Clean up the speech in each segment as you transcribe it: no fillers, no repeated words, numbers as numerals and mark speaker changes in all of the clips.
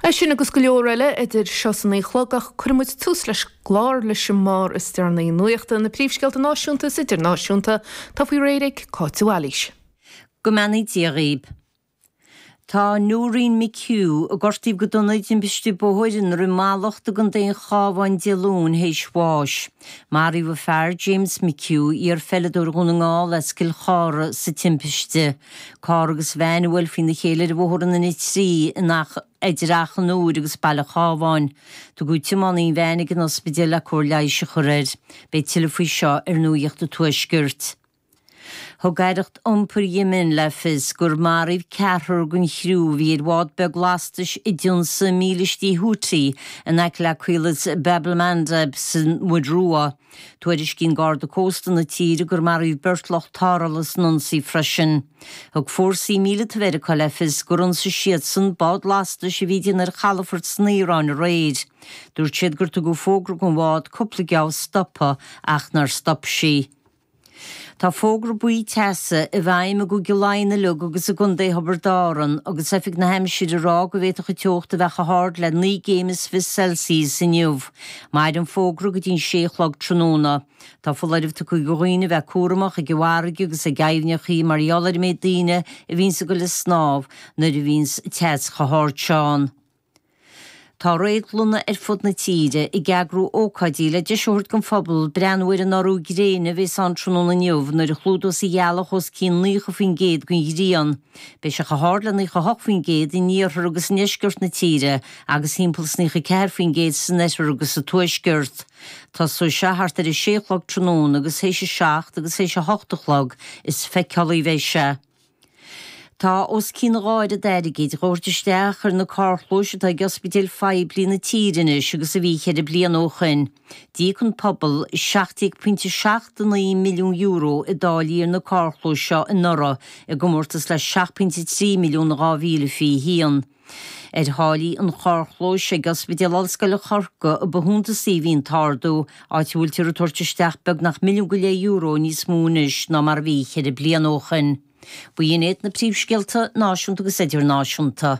Speaker 1: É sin agus go leor eile idir seo is a 9 a chlog ach cuirfidh muid tús leis an gclár leis an mbarr is deireanaí nuachta, na príomhscéalta náisiúnta is idirnáisiúnta, atá faoi réir ag Cáit de Bhailís.
Speaker 2: Go mbeannaí Dia dhaoib. Tá Noreen McHugh, a gortaíodh go dona i dtimpiste bóthair i nDroim Mallacht i gContae an Chabháin Dé Luain théis bháis. Maraíodh a fear, James McHugh, iar-pheileadóir Dhún na nGall as Cill Chartha, sa timpiste. Carr agus veain a bhuail faoina chéile ar bhóthar an N3 in idir Achadh an Iúir agus Baile Chábháin. Tugadh tiománaí an veain ag an ospidéal le cóir leighis a chur air. Beidh tuilleadh faoi seo ar Nuacht an Tuaiscirt. Thug Aireacht Iompair Yemen le fios gur maraíodh ceathrar den chriú a bhí ar bhád beag lastais a d'ionsaigh mílístí Houthi in aice le caolas Bab el-Mandeb san Mhuir Rua. Tuairiscíonn Garda Cósta na tíre gur maraíodh beirt lucht tarrthála san ionsaí freisin. Thug fórsaí míleata Mheiriceá le fios gur ionsaigh siadsan bád lastais a bhí ag déanamh ar chalafort san Iaráin aréir. Dúirt siad gur tugadh fógra don bhád cúpla geábh stopadh ach nár stop sí. Tá fógra buí teasa i bhfeidhm i gCúige Laighean uilig agus i gContae Thiobraid Árann agus Oifig na hAimsire ag rá go bhféadfadh an teocht a bheith chomh hard le 19 gcéim Celsius inniu. Mairfidh an fógra go dtí an sé a chlog tráthnóna. Tá foláireamh tugtha do dhaoine a bheith cúramach ag an bhfarraige agus ag aibhneachaí mar gheall ar an méid daoine a bhíonns ag goil ag snámh nuair a bhíonns teas chomh hard seo ann. Tá réadlanna ar fud na tíre ag eagrú ócáidí le deis a thabhairt don phobal breathnú ar an urú gréine a bhéas ann tráthnóna inniu nuair a chlúdós an ghealach os cionn 90% den ghrian. Beidh sé chomh hard le 98% in iarthar agus i ndeisceart na tíre agus thimpeall is 94% san oirthear agus sa tuaisceart. Tosóidh sé thart ar a sé a chlog tráthnóna agus théis a seacht agus théis a hocht a chlog is feiceálaí a bheidh sé. Tá os cionn a dhá oiread airgid dhá thabhairt isteach ar na carrchlóis atá ag ospidéil phoiblí na tíre anois agus a bhí cheithre bliana ó shoin. D'íoc an pobal €17.79 milliún i dtáillí ar na carrchlóis seo anuraidh i gcomórtas le 7.3 milliún in 2021. Ar tháillí an charrchlóis ag Ospidéal Ollscoile Chorcaí a ba shuntasaí a bhí an t-ardú, áit a bhfuiltear ag tabhairt isteach beagnach €1.5 milliún níos mó anois ná mar a bhí cheithre bliana ó shoin. B'in iad na príomhscéalta náisiúnta agus idirnáisiúnta.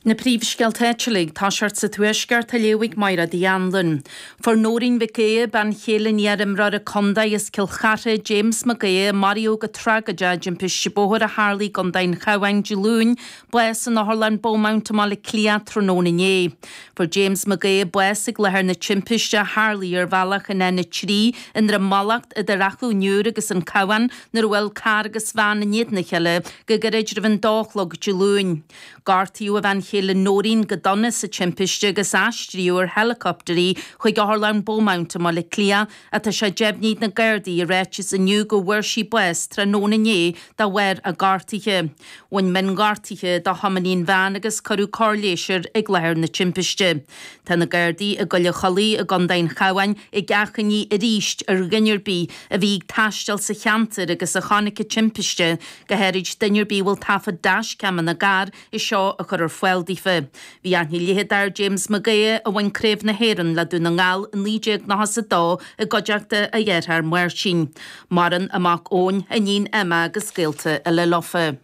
Speaker 1: Na príomhscéalta áitiúla ag toiseacht sa Tuaisceart á léamh ag Máire Uí Anluain. Fuair Nóirín Mhic Aodha, bean chéile an iar-imreora contae as Cill Chartha, James Mac Aodha, a maraíodh go tragóideach i dtimpiste bóthair a tharlaigh i gContae an Chabháin Dé Luain, bás in Otharlann Beaumont i mBaile Átha Cliath tráthnóna inné. Fuair James Mac Aodha bás ag láthair na timpiste a tharlaigh ar bhealach an N3 i nDroim Mallacht idir Achadh an Iúir agus an Cabhán nuair a bhuail carr agus veain in éadan a chéile go gairid roimh an dó a chlog Dé Luain. Gortaíodh a bhean chéile Nóirín go dona sa timpiste agus aistríodh ar heileacoptar í chuig Otharlann Beaumont i mBaile Átha Cliath ach tá sé deimhnithe ag na Gardaí i ráiteas inniu go bhfuair sí bás tráthnóna inné de bharr a gortuithe. Bhain mionghortuithe do thiománaí an veain agus cuireadh cóir leighis air ag láthair na timpiste. Tá na Gardaí i gCoill an Chollaigh i gContae an Chabháin ag achainí arís ar dhuine ar bith a bhí ag taisteal sa cheantar agus a chonaic an timpiste, go háirid duine ar bith a bhfuil taifead dashcam ina gcarr, é seo a chur ar fáil daofa. Bhí aithne leithead ar James Mag Aodha, a bhain Craobh na hÉireann le Dún na nGall i 1992 i gcuideachta a dhearthár Máirtín. Maireann a mac Eoin, a iníon Emma agus gaolta eile leofa.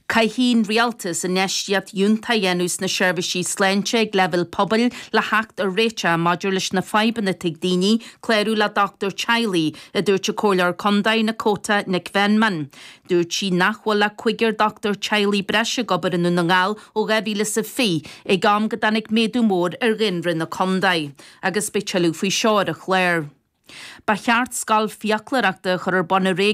Speaker 1: Caithfidh an Rialtas infheistíocht fhiúntach a dhéanamh sna seirbhísí sláinte ag leibhéal pobail le theacht ar réiteach maidir leis na fadhbanna atá ag daoine clárú le dochtúir teaghlaigh, a dúirt an Comhairleoir Contae Nakota Nic Mheanman. Dúirt sí nach bhfuil ach cúigear dochtúir teaghlaigh breise ag obair i nDún na nGall ó 2020, ag am go dtáinig méadú mór ar dhaonra na contae. Agus beidh tuilleadh faoi seo ar an chlár. Ba cheart scoil fiaclóireachta a chur ar bun i.